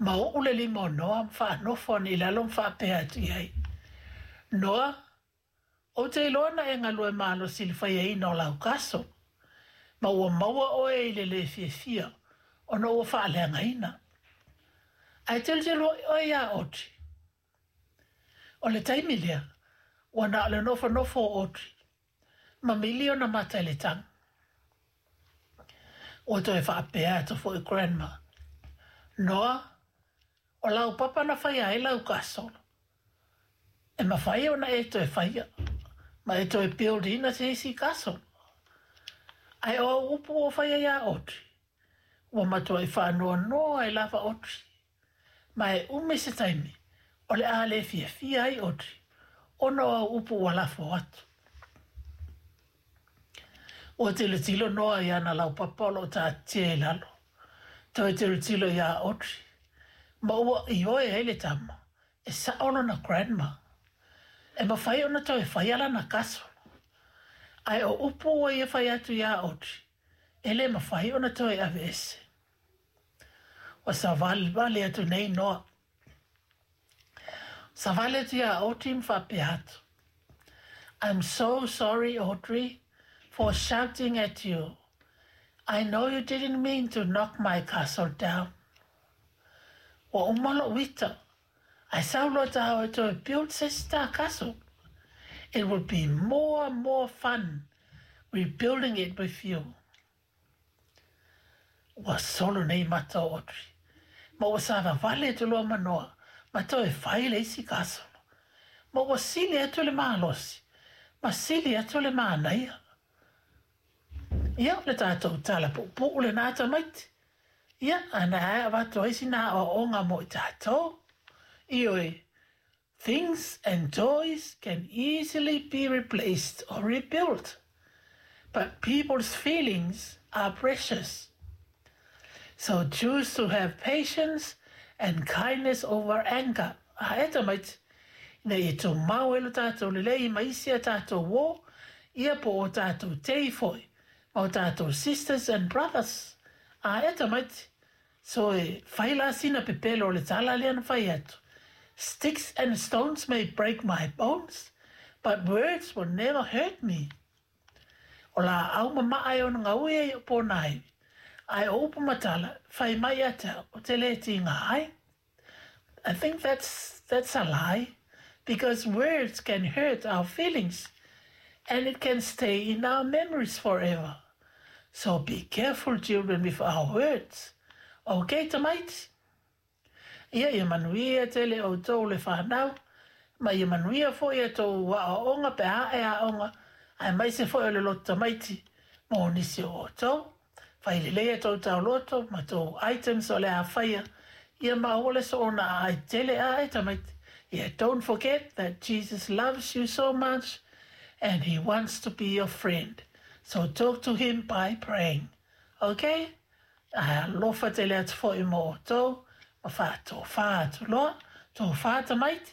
Ma oo le lima o Noa ma faanofo ane i lalo ma faapea atu i ai, Noa, ou te iloa na e galue malosi i le faiaina o lau castle, ma ua maua oe i le lē fiafia ona ua faaleagaina. Ae tilotilo oe iā Audrey. O le taimi lea, ua na o le nofonofo o Audrey ma mili ona mata i le tago. Ua toe faapea atu foi Grandma, Noa, o lau papa na faia ai lau castle. E mafai ona e toe faia, ma e toe build ina se isi castle. Ae o au upu ua faia iā Audrey, ua matuai faanoanoa ai lava Audrey. Ma e umi se taimi, o le a le fiafia ai Audrey, ona o au upu ua lafo atu. Ua tilotilo Noa i ana laupapa o lo o taatitia i lalo, toe tilotilo iā Audrey, ma ua ioe ai le tama, e sao lona grandma. E mafai ona toe faia lana castle. Ae o upu ua ia fai atu iā Audrey, e le mafai ona toe aveese. Ua savalivali atu nei Noa. Savali atu iā Audrey ma faapea atu, I'm so sorry, Audrey, for shouting at you. I know you didn't mean to knock my castle down. Ua uma lou ita, ae sau loa tāua e toe build se isi ta castle. It will be more and more fun rebuilding it with you. Ua solo nei mata o Audrey, ma ua savavali atu loa ma Noa ma toe fai le isi castle. Ma ua sili atu le malosi, ma sili atu le manaia. Ia, o le tatou tala puupuu lenā tamaiti. Ia, a na e avatu ai sina aoaoga mo i tatou. Ioe, things and toys can easily be replaced or rebuilt, but people's feelings are precious. So choose to have patience and kindness over anger. A e tamaiti, ina ia tumau ai lo tatou lelei ma isi a tatou uō, ia po o tatou tei foi, ma o tatou sisters and brothers. A e tamaiti, so e fai la sina pepelo o le tala lea na fai atu, Sticks and stones may break my bones, but words will never hurt me. O laau ma maa e ona gaui ai o pōnāiwi, ae o upu ma tala, fai mai ia te au, ou te lē tīgā ai. I think that's, that's a lie, because words can hurt our feelings and it can stay in our memories forever. So be careful, children, with our words. Okay, tamaiti? Ia, ia manuia tele outou le whanau, ma ia manuia foi a tou aoaoga pe a e aoga, aemaise foi o le loto tamaiti mo nisi o outou. Fai lelei a tou taoloto ma tou items o le a faia, ia ma aua le soona aai tele a e tamaiti. Yeah, don't forget that Jesus loves you so much and he wants to be your friend. So talk to him by praying. Okay? Ae alofa tele atu foi mo outou, ma faatofā atu loa, tofā tamaiti.